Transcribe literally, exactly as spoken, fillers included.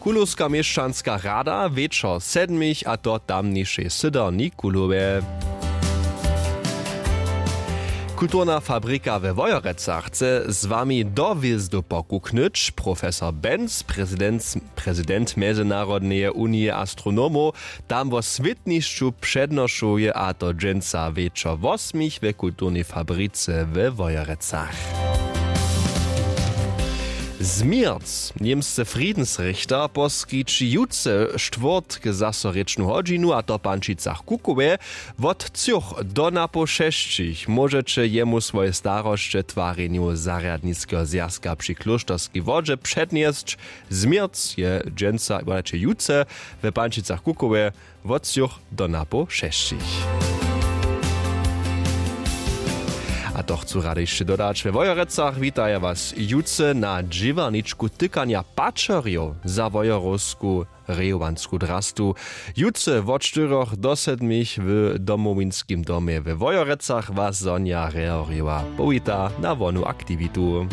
Kulowska měšćanska rada wječor sedmich a to tamnišej sydo nikulowje. Kulturna fabrika we wojerecach chce z wami do hwězdow pokuknyć. Profesor Benz, prezident mjezynarodneje unije astronomow, tam wo swětnišću přednošuje a to dźensa wječor wosmich we kulturnej fabrice we wojerecach. Změrc, němsce friedensrichter poskići jutře štwórtk zaso rěčnu hodźinu a to w pančicach kukowe. Wot třoch do napoł šesćich móžeće jemu swoje starosće twarjenju zarjadniskeho zwjazka při klóšterskej wodźe přednjesć. Změrc je dźensa wolaće jutře w pančicach kukowe wot třoch do napoł šesćich. A to chcu rady hišće dodać, we wojerecach witaja was jutře na dźěłarničku tykanja pačerjow za wojerowsku rejowansku drastu. Jutře wot štyroch do sedmich w domowinskim domje we wojerecach was sonja reorjowa powita na wonu aktiwitu.